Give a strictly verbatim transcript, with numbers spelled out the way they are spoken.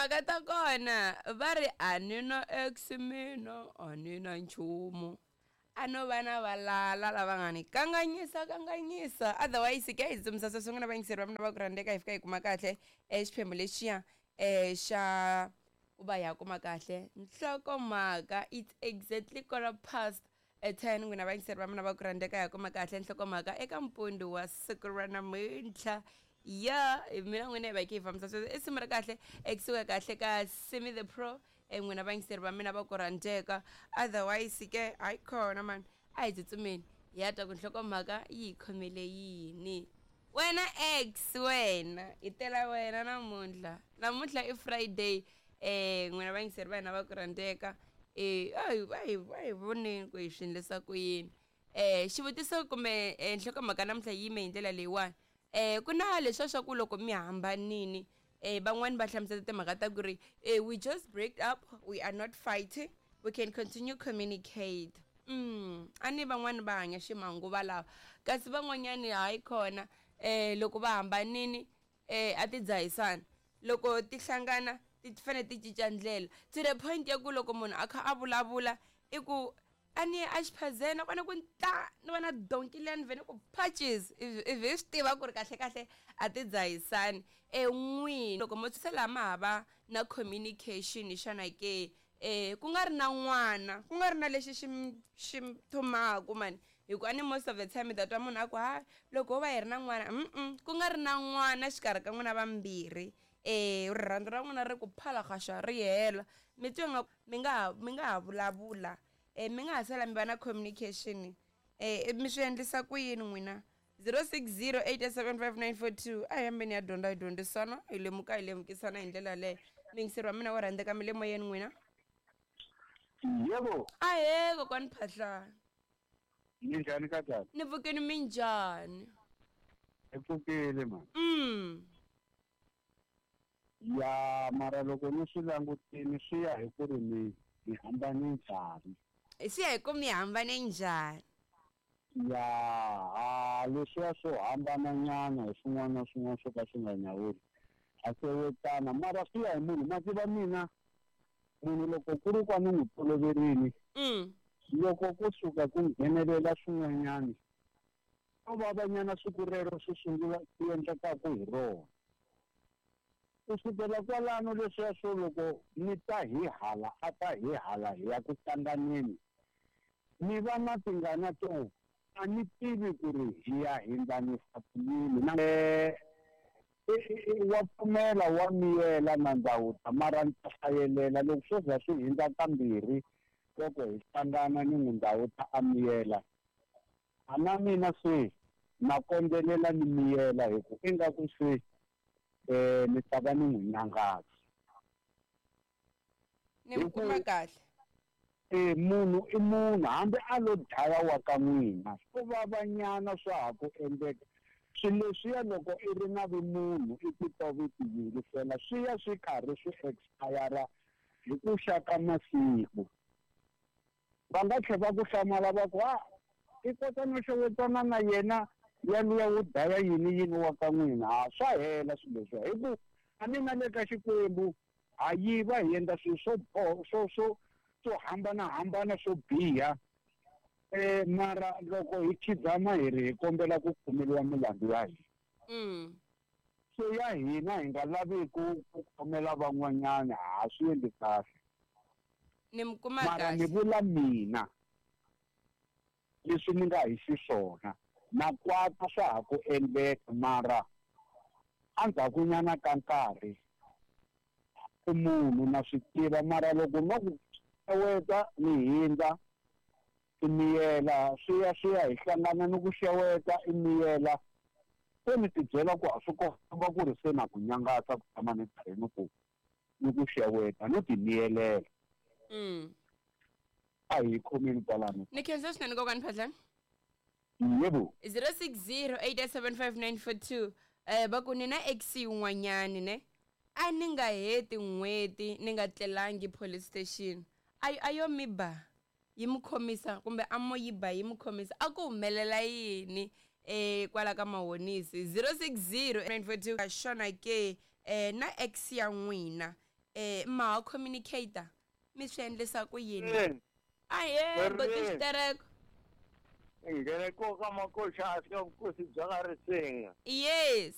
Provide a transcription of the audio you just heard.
Timhaka ta kona va ri a ni na ex mina, a ni na nchumu. A no va na valala lava nga ni kanganyisa kanganyisa. Otherwise ke hi tsutsumisa sweswo n'wina vayingiseri va mina va ku rhandzeka hi fika hi kuma kahle eh, xiphemu lexiya eh, xa ku va hi ya kuma kahle nhlokomhaka. It's exactly quarter past eh, ten. N'wina vayingiseri va mina va ku rhandzeka hi ya kuma kahle nhlokomhaka eka mpundu wa siku ra namuntlha. Ya mina n'wina hi va hi kha hi fambisa sweswo i simu ra kahle ekusuka kahle ka Simi the Pro. eh, n'wina vayingiseri va mina va ku rhandzeka. Otherwise ke hayi khona mani, a hi tsutsumeni hi ya twa ku nhlokomhaka yi hi khomele yini. Wena ex wena hi tela wena namuntlha, namuntlha i Friday. eh n'wina vayingiseri va hina va ku rhandzeka, eh a hi a hi a hi voneni ku hi swi endlisa ku yini. eh xivutiso kumbe eh, nhlokomhaka namuntlha yi yime hi ndlela leyiwani. eh ku na leswiya swa ku loko mi hambanini, eh van'wani va hlamusela timhaka ta ku ri eh, we just break up, we are not fighting, we can continue communicate. mm a ni van'wani va hanya ximanguva lawa, kasi van'wanyani hayi khona. eh loko va hambanini eh a ti dzahisana, loko ti hlangana ti fanele ti cinca ndlela to the point ya ku loko munhu a kha a vulavula i ku a ni ye a xiphazeni a kona ku ta ni vona donki liya ni vhe ni ku patches, ivi hi swi tiva ku ri kahle kahle a ti dzahisani. E n'wini loko mo se laha ma ha va na communication xana ke, eh ku nga ri na n'wana, ku nga ri na lexi xi xi thumaka mani, hikuva ni most of the time mi ta twa munhu a ku ha loko ho va hi ri na n'wana, mm ku nga ri na n'wana xikarhi ka n'wina vambirhi, eh rirhandzu ra n'wina ri ku phalahaxa ri hela, mi twa nga mi nga ha mi nga ha vulavula, eh mi nga ha sala mi va na communication. eh mi swi endlisa ku yini n'wina? Zero six zero eight seven five nine four two. A hi hambeni ya dyondza hi dyondzisana, hi lemuka hi lemukisana hi ndlela yaleyo. Muyingiseri wa mina wo rhandzeka, mi le moyeni n'wina? Yebo. Ahee kokwani Phahlana. Minjhani ka tata? Ni pfukini, minjhani? Hi pfukile mani. Mm. Ya mara loko ni swi langutini swi ya hi ku ri mi mi hambane njhani. Swi ya hi ku mi hambane njhani. Ya ha leswiya swo hambana nyana hi swin'wana na swin'wana swo ka swi nga nyawuli a xewetana, mara swi ya hi munhu. Ma tiva mina munhu loko ku ri ku a ni n'wi toloverini, Mm. loko ko suka ku nghenelela swin'wanyani swo vavanyana siku rero swi sungula ku endlekaku hi rona, ku sukela kwalano leswiya swo loko ni ta hi hala a ta hi hala hi ya ku hlanganeni, ni va na tingana to a ni tivi ku ri hi ya hindlanisa ku yini. Na eh, wa pfumela wa miyela na ndawuta, mara ni ta hlayelela loko swo za swi hindza kambirhi loko hi hlangana ni n'wi ndawuta a miyela, a na mina se na kondzelela ni miyela hi ku ingaku se eh ni ta va ni n'wi nyangaza. Ni mi kuma kahle. Eh munhu i munhu, hambi a lo dlaya wa ka n'wina swo vavanyana swa ha ku endleka. Swilo leswiya loko i ri na vumunhu i titwa vi ti yingisela, swi ya swi karhi swi expire hi ku xa ka masiku. Va nga tlhela va ku hlamala va ku ha i kota no xewetana na yena yaliya wo dlaya yini yini wa ka n'wina. Ha swa hela swilo leswiya, hi ku a ni na le ka Xikwembu ha yiva hi endla swilo swo swo swo swo hambanahambana swo biha. Eh mara loko hi khidzama hi ri hi kombela ku khomeriwa milandzu ya hina. Mm. So ya hina hi nga lavi ku ku khomela van'wanyana, ha swi endli kahle. Ni mi kuma Mara ni kahle. vula mina leswi ni nga hi xiswona na kwata swa ha ku endleka, mara endzhakunyana ka nkarhi i munhu na swi tiva, mara loko no ku xeweta ni hindza i miyela, swi ya swi ya hi hlangana ni ku xeweta i miyela, se ni ti byela ku a swi komba ku ri se na ku nyangatsa ku tshama ni karhi ni ku ni ku xeweta no ti miyelela. Mm. A hi khomeni kwalano. Ni khensa swinene kokwani Phahlane. Yebo. zero six zero eight seven five nine four two. Eh va ku ni na ex yin'wanyani ne, a ni nga heti n'hweti ni nga tlelangi police station, a a yo mi ba yi mi khomisa kumbe a mo yi ba yi mi khomisa, a ku humelela yini eh kwala ka Mahonisi? Zero six zero nine four two. Xana ke eh na ex ya n'wina eh ma ha communicator mi swi endlisa ku yini Eh, ahe boti Ri. xitereko ngheneko ka makoxa a ka vukosi bya ka risinga yes